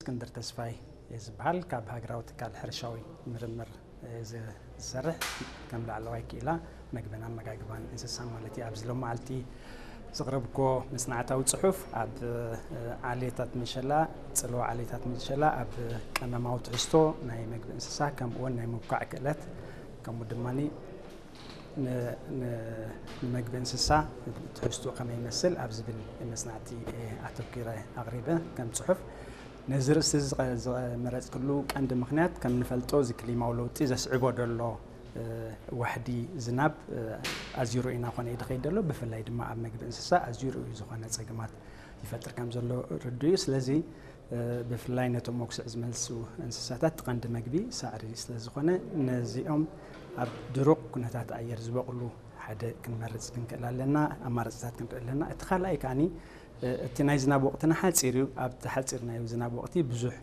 እስክንድር ተስፋይ እየ ዝበሃል። ካብ ሃገራዊ ትካል ሕርሻዊ ምርምር እየ ዝ-፣ ዝሰርሕ። ከም ላዕለዋይ ክኢላ መግብን ኣመጋግባን እንስሳ ማለት እዩ። ኣብዚ ሎም መዓልቲ ዘቕረብኮ መጽናዕታዊ ጽሑፍ ኣብ፣ እ፣ ዓሌታት ምሸላ፣ ጽልዋ ዓሌታት ምሸላ ኣብ ቀመማዊ ትሕዝቶ ናይ መግቢ እንስሳ፣ ከምኡ እውን ናይ ምብኳዕ ክእለት፣ ከምኡ ድማ ን-፣ ን-፣ ንመግቢ እንስሳ ትሕዝቶ ከመይ ይመስል ኣብ ዝብል መጽናዕቲ፣ እ፣ ኣተኲረ ኣቕሪበ ከም ጽሑፍ። ነዚ ርእሲ ዝቐ-፣ ዝመረጽክሉ ቀንዲ ምኽንያት፣ ከም ንፈልጦ፣ እዚ ክሊማዊ ለውጢ ዘስዕቦ ደሎ፣ እ፣ ዋሕዲ ዝናብ፣ እ፣ ኣዝዩ ርኡይ እናኾነ እዩ ዝኸይድ ደሎ። ብፍላይ ድማ ኣብ መግቢ እንስሳ ኣዝዩ ርኡይ ዝኾነ ጸገማት ይፈጥር ከም ዘሎ ርዱእ እዩ። ስለዚ፣ እ፣ ብፍላይ ነቶም መጉስዕ ዝመልሱ እንስሳታት እቲ ቀንዲ መግቢ ሳዕሪ ስለ ዝኾነ፣ ነዚኦም ኣብ ድሩቕ ኩነታት ኣየር ዝበቕሉ ሓደ ክንመርጽ ክንክእል ኣለና፣ ኣማራጽታት ክንርኢ ኣለና። እቲ ካልኣይ ከኣኒ፣ እ፣ እቲ ናይ ዝናብ ወቕትና ሓጺር እዩ። ኣብቲ ሓጺር ናይ ዝናብ ወቕቲ ብዙሕ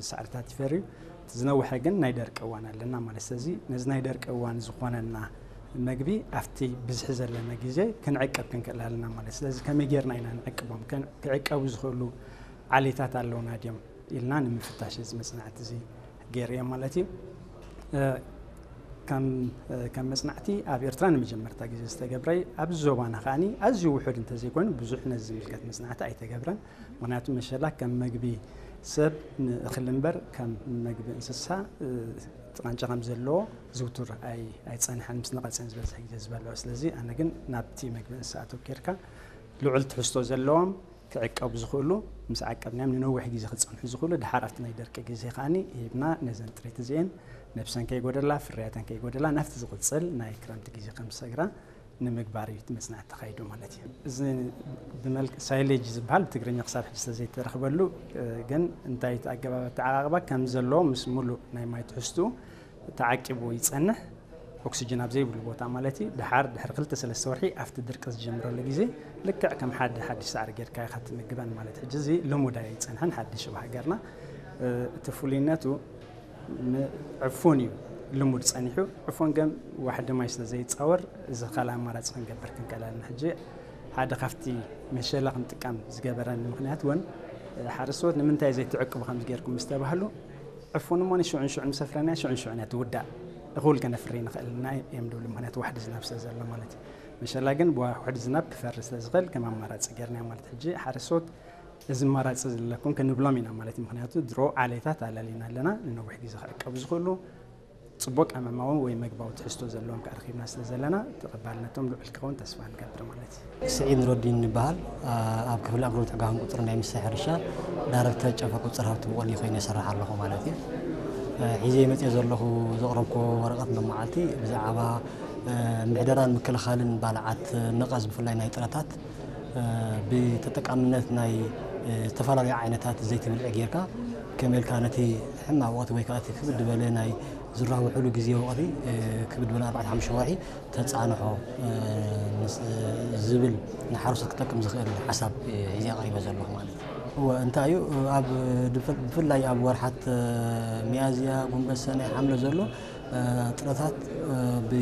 ሳዕርታት ይፈሪ እዩ። እቲ ዝነውሐ ግን ናይ ደርቂ እዋን ኣለና ማለት። ስለዚ ነዚ ናይ ደርቂ እዋን ዝኾነና መግቢ ኣብቲ ብዝሒ ዘለና ግዜ ክንዕቀብ ክንክእል ኣለና ማለት። ስለዚ ከመይ ጌርና ኢና ንዕቅቦም? ከን-፣ ክዕቀቡ ዝኽእሉ ዓሌታት ኣለውና ድዮም ኢልና ንምፍታሽ እዚ መጽናዕቲ እዚ ገይረ እየ ማለት እዩ። እ፣ ከም፣ እ፣ ከም መጽናዕቲ ኣብ ኤርትራ ንመጀመርታ ግዜ ዝተገብረ እዩ። ኣብዚ ዞባና ከኣኒ ኣዝዩ ውሑድ እንተዘይኮይኑ ብዙሕ ነዚ ዝምልከት መጽናዕቲ ኣይተገብረን። ምኽንያቱ መሸላ ከም መግቢ ሰብ ንእኽሊ እምበር ከም መግቢ እንስሳ፣ እ፣ እቲ ቃንጫ ከም ዘለዎ ዝውቱር ኣይ-፣ ኣይጸንሐን፣ ምስ ነቐጸን ዝበዝሕ ግዜ ዝበልዖ። ስለዚ ኣነ ግን ናብቲ መግቢ እንስሳ ኣተኲርካ ልዑል ትሕዝቶ ዘለዎም ክዕቀቡ ዝኽእሉ፣ ምስ ዓቀብናዮም ንነዊሕ ግዜ ክጸንሑ ዝኽእሉ፣ ድሓር ኣብቲ ናይ ደርቂ ግዜ ከኣኒ ሂብና ነዘን ጥሪት እዚኤን ነብሰን ከይጎደላ፣ ፍርያተን ከይጎደላ፣ ናብቲ ዝቕጽል ናይ ክረምቲ ግዜ ከም ዝሰግራ ንምግባር እዩ እቲ መጽናዕቲ ተኻይዱ ማለት እዩ። እዚ ብመልክ-፣ ሳይሌጅ ዝበሃል ብትግርኛ ክሳብ ሕጂ ስለዘይተረኽበሉ፣ እ፣ ግን እንታይ እቲ ኣገባብ ኣተዓቓቕባ ከም ዘለዎ ምስ ሙሉእ ናይ ማይ ትሕዝትኡ ተዓቂቡ ይጸንሕ፣ ኦክሲጅን ኣብ ዘይብሉ ቦታ ማለት እዩ። ድሓር ድሕሪ ክልተ ሰለስተ ወርሒ ኣብቲ ድርቂ ዝጀምረሉ ግዜ ልክዕ ከም ሓደ ሓድሽ ሳዕሪ ጌርካ ኢኻ ትምግበን ማለት። ሕጂ እዚ ልሙድ ኣይጸንሐን፣ ሓድሽ ኣብ ሃገርና። እ፣ እቲ ፍሉይነቱ ም-፣ ዕፉን እዩ ልሙድ ጸኒሑ። ዕፉን ግን ዋሕዲ ማይ ስለ ዘይጻወር፣ እዚ ካልእ ኣማራጺ ክንገብር ክንክእል ኣለና። ሕጂ ሓደ ካብቲ መሸላ ክንጥቀም ዝገበረኒ ምኽንያት እውን፣ እ፣ ሓረስቶት ንምንታይ ዘይትዕቅቡ ከም ዝገርኩም ምስ ተባህሉ፣ ዕፉን እሞ ንሽዑን ሽዑን ምስ ኣፍረናያ ሽዑን ሽዑን እያ ትውዳእ። እኹል ከነፍሪ ንኽእል ኢና እዮም ዝብሉ፣ ምኽንያቱ ዋሕዲ ዝናብ ስለ ዘሎ ማለት እዩ። መሸላ ግን ብዋሕዲ ዝናብ ክፈሪ ስለ ዝኽእል ከም ኣማራጺ ጌርናዮ ማለት። ሕጂ ሓረስቶት እዚ ኣማራጺ ዘለኩም ክንብሎም ኢና ማለት እዩ። ምኽንያቱ ድሮ ዓሌታት ኣላሊና ኣለና፣ ንነዊሕ ግዜ ክዕቀቡ ዝኽእሉ፣ ጽቡቕ ቀመማዊ ወይ መግባዊ ትሕዝቶ ዘለዎም ከኣ ረኺብና ስለ ዘለና፣ ተቐባልነቶም ልዑል ክኸውን ተስፋ ንገብር ማለት እዩ። ስዒድ ኑረዲን ይበሃል። ኣብ ክፍሊ ኣግሮ ትዕጋግን ቁጽሪ ናይ ሚኒስትሪ ሕርሻ ዳይረክተር ጨንፈር ቁጽሪ ሃብቲ ብቖሊ ኮይነ ይሰርሕ ኣለኹ ማለት እዩ። ሒዘ መጽየ ዘለኹ ዘቕረብኩ ወረቐት ሎማዓልቲ ብዛዕባ ምሕደራን ምክልኻልን ባልዓት ነቐዝ ብፍላይ ናይ ጥረታት ብተጠቃምነት ናይ ዝተፈላለዩ ዓይነታት ዘይቲ ብልዒ ጌርካ ከመይ ኢልካ ነቲ ሕማቕ ወቕቲ ወይ ከዓ እቲ ክብድ ዝበለ ናይ ዝራብሕሉ ግዜ ወቕቲ ክብድ ዝበለ ኣርባዕተ ሓሙሽተ ወርሒ ተጻንሖ ምስ ዝብል ንሓረስቶት ክጠቅም ዝኽእል ሓሳብ ሒዘ ኣቕሪበ ዘለኹ ማለት እዩ። እወ እንታይ እዩ ኣብ ብፍላይ ኣብ ወርሓት ሚያዝያ፣ ጉንበት፣ ሰነ፣ ሓምለ ዘሎ ጥረታት ብ